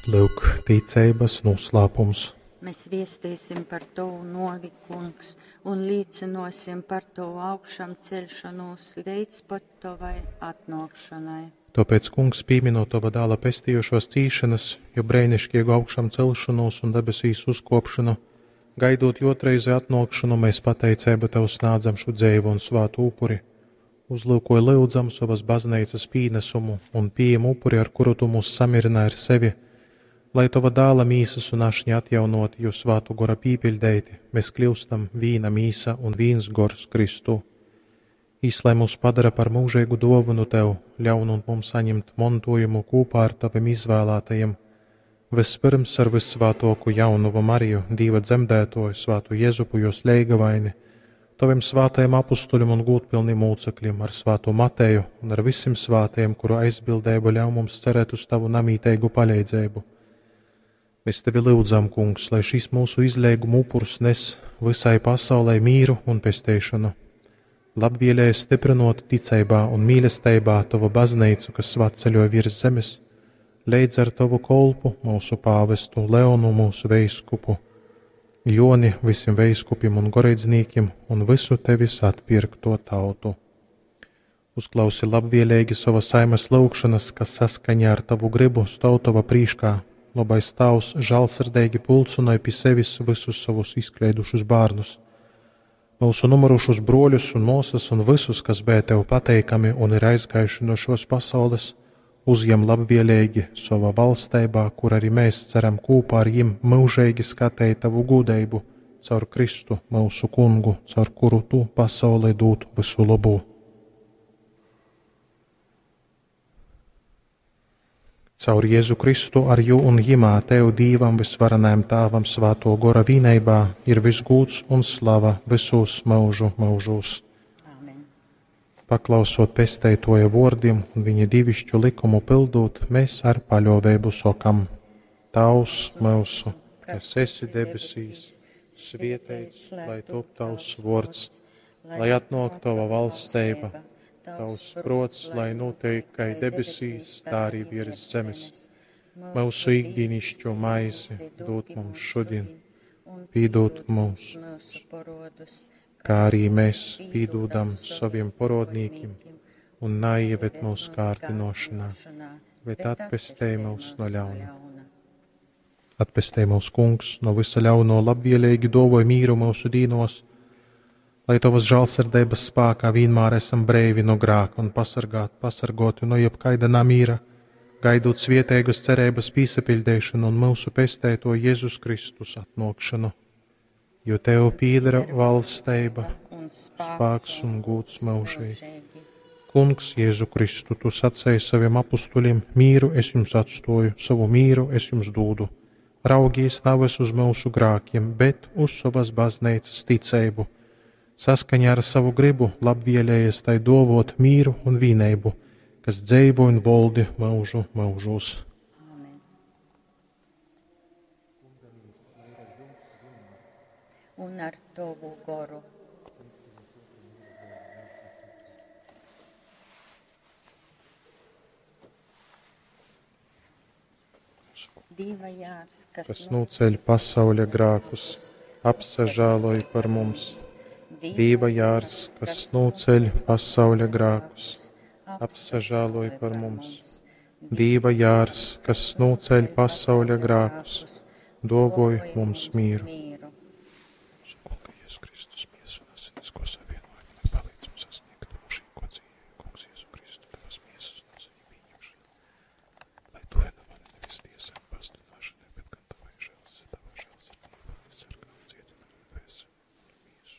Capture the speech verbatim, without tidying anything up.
Lyuk, ticeibas noslēpums. Mēs viestīsim par Tavu novi, Kungs, un līcinosim par Tavu augšām celšanos līdz pat Tavai atnākšanai. Tāpēc, Kungs, pieminot Tava dēla pestījušos cīšanas, jo brēnišķīgu augšām celšanos un debesīs uzkopšanu, gaidot jotreizi atnākšanu, mēs pateicību Tev snādzam šo dzēvu un svātu upuri. Uzlūkoja lūdzam savas baznīcas pīnesumu un pieejam upuri, ar kuru Tu mūs samierināji ar sevi, lai Tava dēla mīsas un ašņa atjaunoti, jo svātu gora pīpiļdeiti, mēs kļūstam vīna mīsa un vīns gors Kristū. Īs, lai mūs padara par mūžīgu dāvanu Tev, ļaunot mums saņemt mantojumu kopā ar Taviem izvēlētajiem, vispirms ar vissvātoku jaunuvu Mariju, Dīva dzemdētoju, svātu Jezupu, jos leigavaini, Taviem svātajiem apustuļiem un gūtpilniem mūcekļiem, ar svāto Mateju un ar visiem svātajiem, kuru aizbildību ļauj mums cerēt uz Tavu namīteigu palīdzību. Mēs Tevi lūdzam, Kungs, lai šis mūsu izlēguma upurs nes visai pasaulē mīru un pesteišanu. Labvēlēji stiprinot ticībā un mīlestībā Tavu baznīcu, kas svatceļo virs zemes, leidz ar Tavu kolpu, mūsu pāvestu Leonu, mūsu veiskupu, Joni, visiem veiskupiem un goreidznīkiem un visu Tevis atpirkto tautu. Uzklausi labvēlīgi savas saimes lūgšanas, kas saskaņā ar Tavu gribu stāv Tava prīškā. Labais Tavs žēlsirdīgi pulcināja pie sevis visus savus izkleidušus bērnus, mūsu numurušus broļus un māsas un visus, kas bija Tev pateikami un ir aizgājuši no šos pasaules, uzņem labvēlīgi savā valstībā, kur arī mēs ceram kopā ar viņiem mūžīgi skatīt Tavu gudrību caur Kristu, mūsu kungu, caur kuru Tu pasaulē dod visu labo. Caur Jēzu Kristu ar jū un jimā Tev Dīvam visvarenajam Tāvam svāto gora vīneibā ir visgūts un slava visos mūžu mūžos. Āmen. Paklausot pesteitoja vārdiem un viņa divišķu likumu pildot, mēs ar paļāvību sokam: Tavs mūsu, kas esi debesīs, svietēts, lai top tavs vārds, lai atnāk tava valstība, tavs prots, lai notiek kā debesīs, tā arī virs zemes. Mūsu ikdienišķo maizi dod mums šodien, piedod mums, kā arī mēs piedodam saviem porodnīkiem, un neieved mūsu kārdinošanā, bet atpestej mūs no ļauna. Atpestej mūs, Kungs, no visa ļauno labvēlīgi dovoj mīru mūsu dīnos, lai Tavas žēlsirdības spēkā vienmēr esam breivi no grāka un pasargāt, pasargoti no jebkaida namīra, gaidot svietēgas cerības pīsapildīšanu un mūsu pestēto Jēzus Kristus atnākšanu. Jo Tev piedara valstība, Un spēks un gūts mūžīgi. Kungs, Jēzu Kristu, Tu sacēji saviem apustuļiem: mīru es jums atstoju, savu mīru es jums dūdu. Raugīs nevis uz mūsu grākiem, bet uz savas baznīcas ticību. Saskaņā ar savu gribu labvēlējies tai dovot mīru un vīneibu, kas dzeivo un voldi mūžu mūžos. Āmen. Un ar Tavu goru. Dieva jārs, kas, Kas noceļ pasauļa grākus, apsažāloj par mums. Dieva jārs, kas noceļ pasauļa grākus, apsažāloj par mums. Dieva jārs, kas noceļ pasauļa grākus, dovoj mums mīru. mīru. Mūsu Kunga Jēzus Kristus.